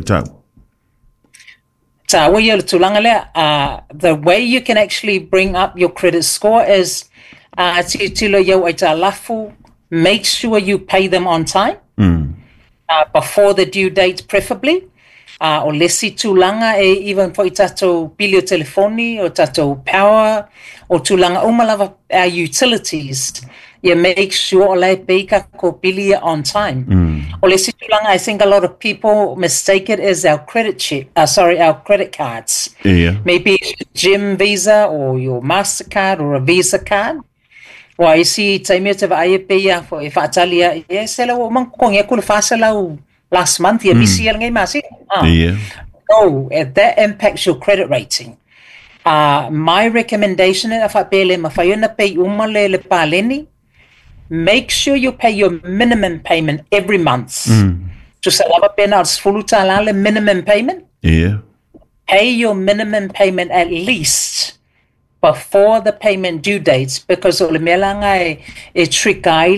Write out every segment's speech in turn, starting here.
tau. Tāua ia le tulaga lea. The way you can actually bring up your credit score is tilotilo i au aitalafu, make sure you pay them on time, before the due date preferably. O le isi tulaga e even foi tatou pili o telefoni, o tatou power, o tulaga uma lava, our utilities, ia make sure o la e pay tatou pili ia on time. O le isi tulaga, I think a lot of people mistake it as our credit check, sorry, our credit cards. Maybe it's your gym Visa or your MasterCard or a Visa card. Ua isi taimi o te vaai e pei a fo e whaatali a, e se lau o mang kongi aku le 400 last month, ia misi ia ngai masi. No, that impacts your credit rating. My recommendation e whaapele ma whai ona pay uma le paleni, make sure you pay your minimum payment every month. Tusa lava pena al 10 tala le minimum payment. Pay your minimum payment at least before the payment due dates because o le mea langa e trick ai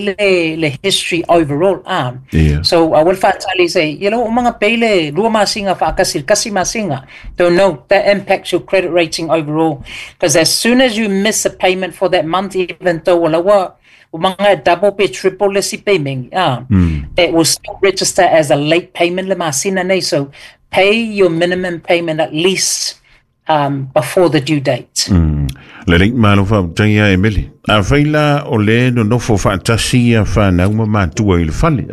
le history overall. So I will whaatali say, o mga pay le lua masinga whaakasi, kasi masinga. Don't know, that impacts your credit rating overall. Because as soon as you miss a payment for that month, even though wala wa, o mga double pe triple le si payment, it will still register as a late payment le masina nei. So pay your minimum payment at least before the due date. Lelei, malo faafetai ia Emily. Afai la o le nonofo faatasi ia fanau ma matua i le fale.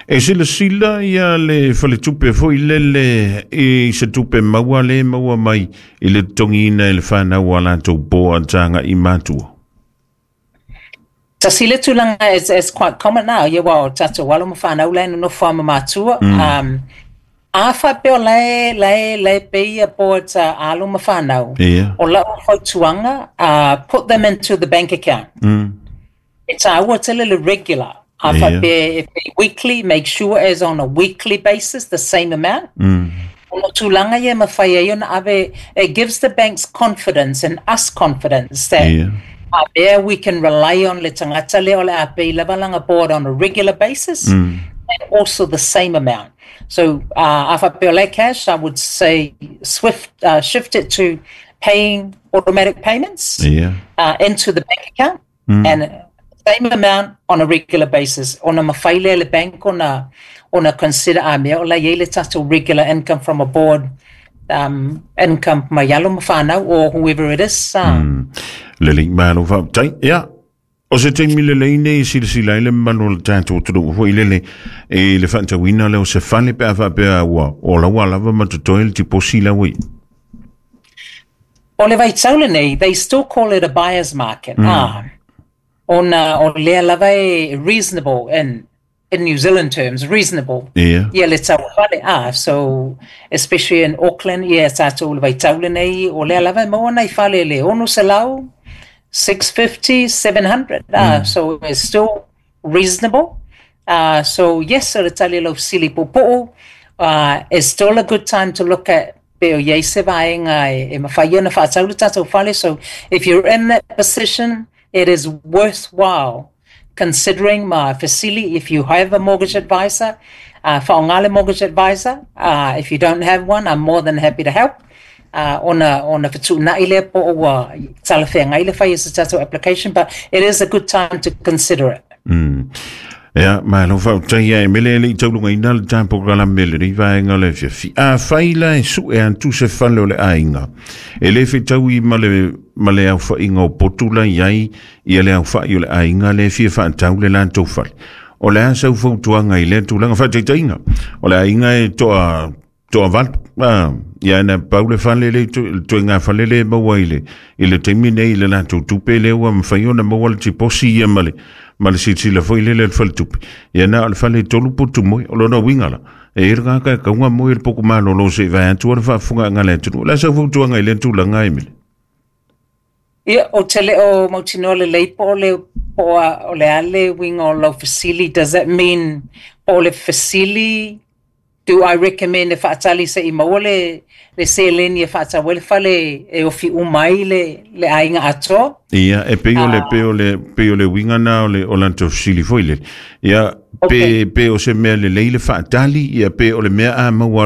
E silasila ia le faletupe foi lele i se tupe maua le maua mai i le totogiina e le fanau a latou boards aga'i matua. Tasi le tulaga is quite common now. Ia wa o tatou alo ma fanau la e nonofo a ma matua. A faapea o lae pay ia boards a alo ma fanau. O lau fautuaga, put them into the bank account. E tāua tele le regular. A faapea if they weekly, make sure as on a weekly basis the same amount. O tulaga ia mawhai ai ona ave, it gives the banks confidence and us confidence that there we can rely on le tangata le o le a pay lava langa board on a regular basis and also the same amount. So a faapea o le cash, I would say shift it to paying automatic payments into the bank account and same amount on a regular basis. Ona mawhai le bank ona consider a mea o la iai le tatou regular income from a board income mai alo ma whanau or whoever it is. Lelei, malo faafetai. Ia, o se taimi lelei nei silasila ai le mamalu o le tatou atunuu foi lele i le faatauina lea o se fale pe a faapea ua o laua lava ma totoe le tiposi la ua i. O le vaitau lenei, they still call it a buyer's market. Ah, ona o lea lava e reasonable in New Zealand terms, reasonable. Ia le tau fale. Ah, so especially in Auckland, ia tātou le vaitau lenei, o lea lava e maua nai fale le 600, 650, 700. Ah, so it's still reasonable. So yes, o le tali lau fesili puupuu, it's still a good time to look at pe o iai se vaega e mawhai ona whaatau le tātou fale. So if you're in that position, it is worthwhile considering ma fesili if you have a mortgage advisor, whaongale mortgage advisor. If you don't have one, I'm more than happy to help. Ona whatuunai lea po o ua talawhea ngai le whai se tātou application, but it is a good time to consider it. Ia, malo faafetai ia Emele e le i taulugaina le tapo kalame le rei vaega le fiafi. Afai la e sue atu se fale o le aiga, e le fetaui ma le aofaiga o potu la i ai ia le aofai o le aiga le fia faatau le latou fale. O le a sau fautuaga i lea tulaga faataitaiga? O le aiga e toa valu. Ia na pau le fale le toe ngā fale le maua i le taimi nei i le latou tupe le ua mawhai ona maua le tiposi ia ma le silasila foi lele le faletupe. Ia na o le fale tolu putu moi, o lona uiga la. E ira ka kaunga moi le poku malolo se vai atu le faafofoga le atunuu. O le a sau fautuaga i lea tulaga, Emily? Ia, o te le o mautinoa lelei po o le po o le a le uiga o lau fesili. Does that mean po o le fesili, do I recommend e faatali se i maua le seleni e faatau ai le fale e ofi uma ai le aiga atoa? Ia, e pei o le pei o le pei o le uiga na o latou fesili foi lele. Ia, pe o se mea lelei le faatali, ia pe o le mea a maua.